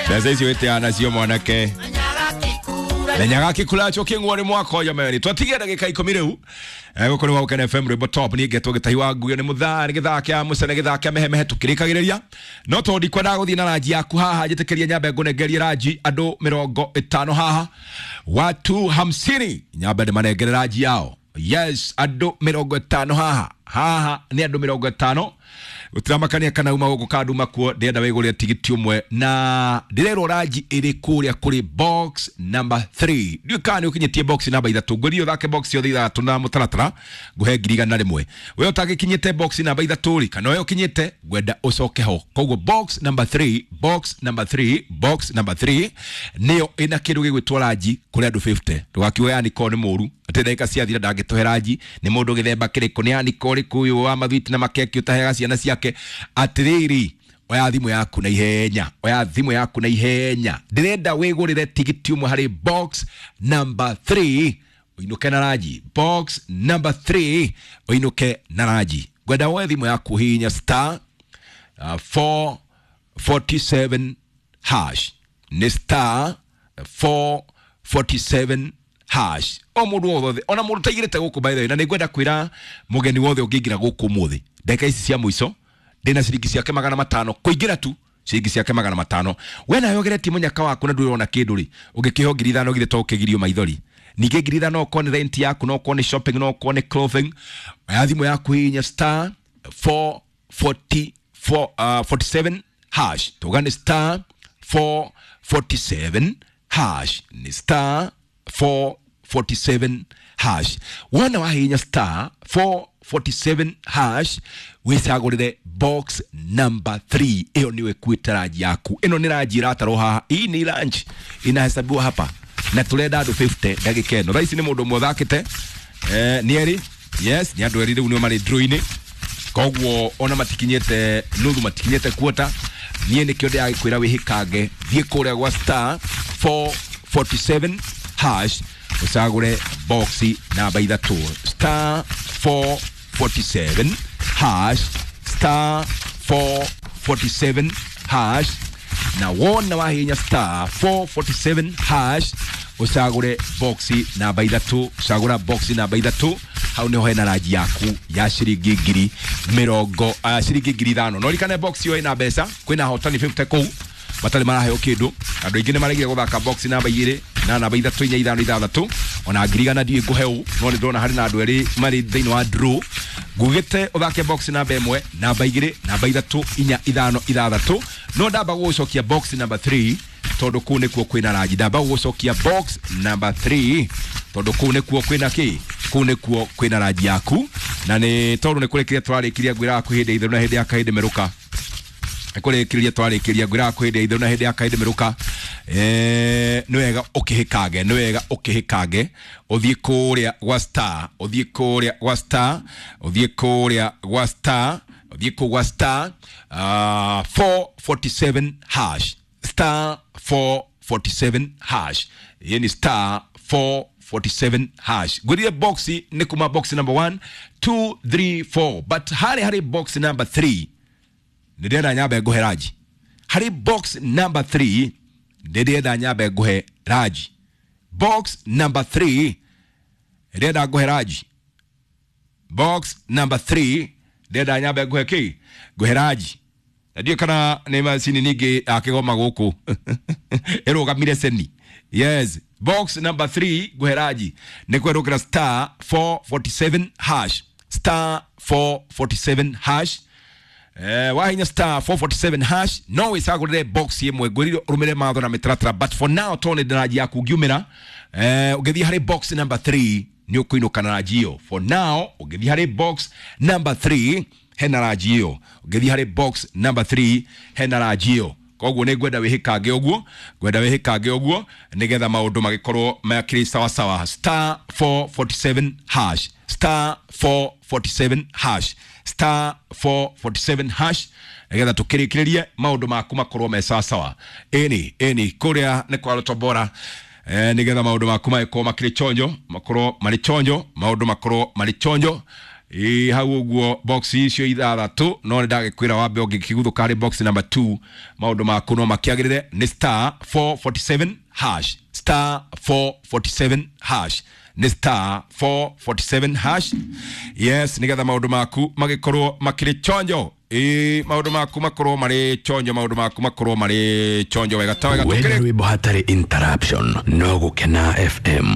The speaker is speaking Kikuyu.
Mbeca icio wĩteaga nacio mwanake. Menyaga kikulacho kĩng'uo nĩ mwaka ũyũ meri twatigia ndagĩka 10 rĩu. Gũkũ nĩ gwa Gũkena FM rwĩmbo top. Niĩ ngetwo Gĩtahi wa Nguyo nĩ mũthaa nĩ gĩthaa kĩa mũcene gĩthaa kĩa mehemehe tũkĩrĩkagĩrĩria no tondũ ndikwendaga gũthiĩ na ranji yaku haha njĩtĩkĩrie nyambe ngũnengerie ranji andũ 50 haha watu 50 nyambe ndĩmanengere ranji yao. Yes, andũ 50 haha haha nĩ andũ 50 gũtiramakania kana uma gũkũ kana nduma kuo ndĩrenda wĩgũrĩre tigiti ũmwe na ndĩrerwo ranji ĩrĩ kũrĩa kũrĩ box number 3. Ndiũĩ kana nĩ ũkinyĩtie box namba 3. Ngwĩrire ũthake box yothe 6 na mũtaratara ngũhe 100,000. We ũtagĩkinyĩte box namba 3 rĩ kana we ũkinyĩte ngwenda ũcoke ho. Koguo box number 3, box number 3, box number 3 nĩyo ĩna kĩndũ gĩgwĩtwo ranji kũrĩ andũ 50. Ndũgakiuge yani korwo nĩ mũru atĩ ndagĩka ciathira ndangĩtũhe ranji nĩ mũndũ gĩthemba kĩrĩkũ nĩ yani korwo ũrĩkũ ũyũ wa mathwiti na makeki ũtaheaga ciana ciake. Atĩrĩrĩ, oya thimũ yaku na ihenya, oya thimũ yaku na ihenya, ndĩrenda wĩgũrĩre tigiti ũmwe harĩ box number 3 ũinũke na ranji. Box number 3 ũinũke na ranji. Ngwenda woe thimũ yaku hihinya star 447 hash. Nĩ star 447 hash. O mũndũ wothe ona mũndũ ũtaigĩrĩte gũkũ by the way, na nĩngwenda kwĩra mũgeni wothe ũngĩingĩra gũkũ ũmũthĩ ndagĩka ici cia mũico ndĩna ciringi ciake 500 kũingĩra tu ciringi ciake 500. We nawe ũgeretie mũnyaka waku na ndũrona kĩndũ rĩ ũngĩkĩheo 5,000 githĩ to ũkĩgirio maithori. Ningĩ 5,000 okorwo nĩ rent yaku no okorwo nĩ shopping no okorwo nĩ clothing. Oya thimũ yaku hihinya star 444 47 hash. Tuga nĩ star 447 hash. Nĩ star 447 hash. Wona wahihinya star 447 hash wĩcagũrĩre box number 3. Ĩyo nĩyo ĩkuĩte ranji yaku. Ĩno nĩ ranji ĩratarwo haha. Hii ni ranji inahesabiwa hapa na tũrenda andũ 50 ndagĩka ĩno. Thaa ici nĩ mũndũ ũmwe ũthakĩte nĩ erĩ. Yes, nĩ andũ erĩ rĩu nĩo marĩ draw-inĩ. Koguo ona matikinyĩte nuthu, matikinyĩte quarter. Niĩ nĩkĩo ndĩragĩkwĩra wĩhĩkange, thiĩ kũrĩa gwa star 447 hash ũcagũre box namba 3. Star 447 hash, star 447 hash. Na wona wahihinya star 447 hash ũcagũre box namba 3, cagũra box namba 3 hau nĩho hena ranji yaku ya ciringi ngiri mĩrongo ciringi 5,000. No ririkane box ĩyo ĩna mbeca, kwĩna ahotani 50 kũu matarĩ maraheo kĩndũ. Andũ aingĩ nĩ maregire gũthaka box namba 2 na namba 3 4 5 6 ona 100,000 ndiũĩ ngũhe ũ, no nĩ ndĩrona harĩ na andũ erĩ marĩ thĩinĩ wa draw. Ngugĩte ũthake box namba 1, namba 2, namba 3 4 5 6, no ndamba gũgũcokia box number 3 tondũ kũu nĩkuo kwĩna ranji. Ndamba gũgũcokia box number 3 tondũ kũu nĩkuo kwĩna kĩ, kũu nĩkuo kwĩna ranji yaku. Na nĩ tondũ nĩ kũrĩkĩria tũrarĩkirie ngwĩraga kwĩ hĩndĩ itherũ na hĩndĩ ya kahĩndĩ merũka. Nĩ kũrĩkĩrĩria twarĩkĩria ngwĩraga kwĩ hĩndĩ itherũ na hĩndĩ ya kahĩndĩ merũka. Nĩ wega ũkĩhĩkange, nĩ wega ũkĩhĩkange ũthiĩ kũrĩa gwa star, ũthiĩ kũrĩa gwa star, ũthiĩ kũrĩa gwa star, ũthiĩ kũu gwa star 447 hash, star 447 hash. Ĩĩ ni star 447 hash. Ngwĩrire box nĩ kuma box number 1 2 3 4, but harĩ harĩ box number 3 nĩ ndĩrenda nyambe ngũhe ranji. Harĩ box number 3 nĩ ndĩrenda nyambe ngũhe ranji. Box number 3 ndĩrenda ngũhe ranji. Box number 3 ndĩrenda nyambe ngũhe kĩ, ngũhe ranji. Na ndiũĩ kana nĩ macini ningĩ akĩgoma gũkũ ĩrũgamire ceni. Yes, box number 3 ngũhe ranji nĩ kwerũkĩra star 447 hash, star 447 hash. Wahinya star 447 hash no wĩcagũrĩre box ĩmwe. Ngwĩrire ũrũmĩrĩre mawatho na mĩtaratara, but for now tondũ nĩ ranji yaku ngiumĩra, ũngĩthiĩ harĩ box number 3 nĩ ũkũinũka na ranji ĩyo. For now ũngĩthiĩ harĩ box number 3 hena ranji ĩyo. Ũngĩthiĩ harĩ box number 3 hena ranji ĩyo. Koguo nĩ ngwenda wĩhĩkange ũguo, ngwenda wĩhĩkange ũguo nĩgetha maũndũ magĩkorwo makĩrĩ sawa sawa. Star 447 hash, star 447 hash, star 447 hash nĩgetha tũkĩrĩkĩrĩrie maũndũ maku makorwo me sawa sawa. Ĩni ĩni kũrĩa nĩ kwa Rotobora, nĩgetha maũndũ maku magĩkorwo makĩrĩ chonjo, makorwo marĩ chonjo, maũndũ makorwo marĩ chonjo. Ĩ hau ũguo box icio ithathatũ, no nĩ ndagĩkwĩra wambe ũngĩkĩguthũka harĩ box number 2, maũndũ maku no makĩagĩrĩre. Nĩ star 447 hash, star 447 hash, nĩ star 447 hash. Yes, nĩgetha maũndũ maku magĩkorwo makĩrĩ chonjo. Ĩ maũndũ maku makorwo marĩ chonjo, maũndũ maku makorwo marĩ chonjo wega ta wega. Wenda Tũkĩrĩ rwĩmbo hatarĩ interruption, no Gũkena FM.